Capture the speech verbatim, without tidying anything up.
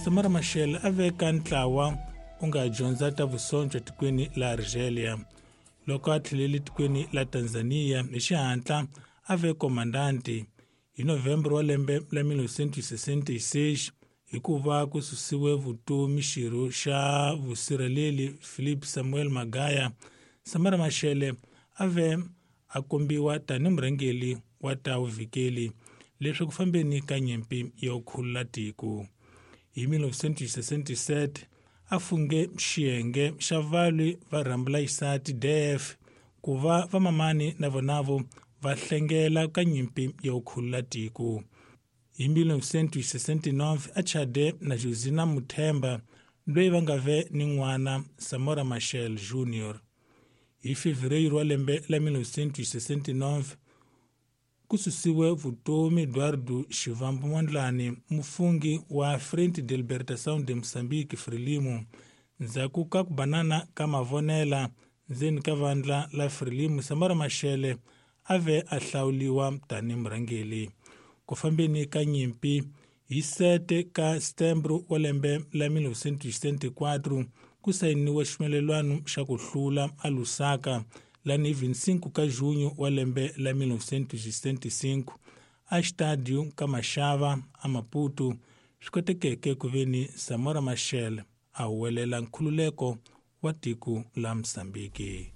Samora Machel a veka ntlawa u nga dyondza ta vusonjo tikweni la Argelia. Loko a tlhelele tikweni la Tanzania hi xihatla a ve komandanti hi November wa lembe la mil novecentos e sessenta e seis hikuva ku susiwe vutomi xirho xa vusirheleli Philip Samuel Magaya. Samora Machel a ve a kombiwa tanihi murhangeri wa ta vuvikeli leswi ku fambeni ka nyimpi yo khulula tiko. Hi mil novecentos e sessenta e sete a funge xiyenge xa valwi va rhambula xisati D F ku va vamamani na vonavo va hlengela ka nyimpi yo khulula tiko. Hi mil novecentos e sessenta e nove a chade na Josina Muthemba loyi va nga ve ni n'wana Samora Machel Junior. Hi Fevereiro wa lembe la mil novecentos e sessenta e nove ku susiwe vutomi Eduardo Shivambu Mondlane, mufungi wa Frente de Libertação de Moçambique Frelimo, ndzhaku ka ku banana ka mavonela ndzeni ka vandla la Frelimo. Samora Machel a ve a hlawuliwa tanihi murhangeri. Ku fambeni ka nyimpi hi sete ka Setembro wa lembe la mil novecentos e setenta e quatro ku sayiniwe ximelelwano xa ku hlula a Lusaka lani hi vinte e cinco ka junho wa lembe la mil novecentos e setenta e cinco a xitadio ka Mashava a Maputo swi kotekeke ku veni Samora Machel a huwelela nkhululeko wa tiko la Mozambique.